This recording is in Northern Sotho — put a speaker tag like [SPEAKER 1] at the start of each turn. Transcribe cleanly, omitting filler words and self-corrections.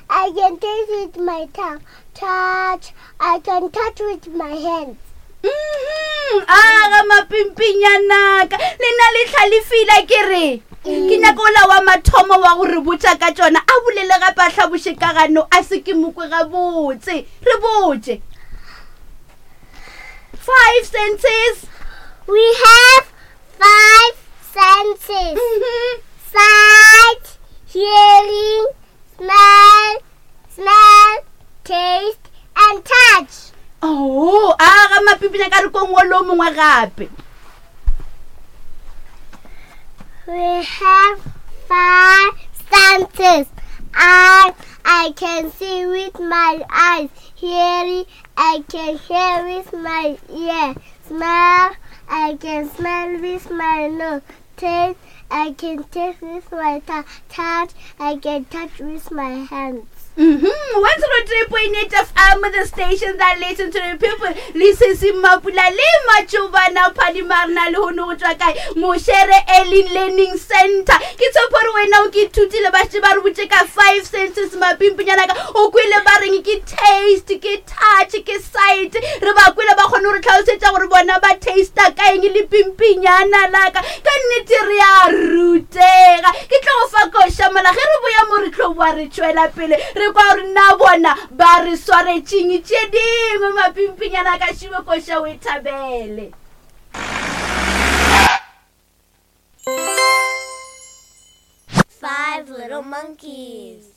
[SPEAKER 1] I can taste with my tongue. Touch, I can touch with my hands.
[SPEAKER 2] Mhm, aga mapimpinyanaka le na le tlhalefile ke re ke nyaka ola wa mathomo wa go re botša ka tšona a bolele gape a hlaboše ka gano a se ke mokwe gabotse re botše five senses
[SPEAKER 1] We have five senses.
[SPEAKER 2] Mhm.
[SPEAKER 1] Sight, hearing, smell, smell, taste, and touch.
[SPEAKER 2] Oh, a ga mapipinya ka re kong o le o mongwe gape.
[SPEAKER 1] We have five senses. I I can see with my eyes, hearing I can hear with my ear, smell I can smell with my nose, taste I can taste with my tongue, touch I can touch with my hands.
[SPEAKER 2] Mm-hmm. 103.8 FM, the station that listen to the people. Le sesi Mapula le Matšobana Phadimarna le hono go tšwa kae Mošere Early Learning Center. Ke tshepo gore wena o ke ithutile ba šetše ba re botše ka five senses mapimpinyana ka o kwele ba reng ke taste ke touch ke sight re ba kwele ba kgone gore tlhalosetša gore bona ba tasta ka eng le pimpinyana laka ka nnete re a rutega ke tlo go fa koša mola ge re boya mo re tlo boa re tšwela pele re kwa gore na bona ba re swaretšeng tše dingwe mapimpinyana ka šibe koša o e thabele.
[SPEAKER 1] Five little monkeys.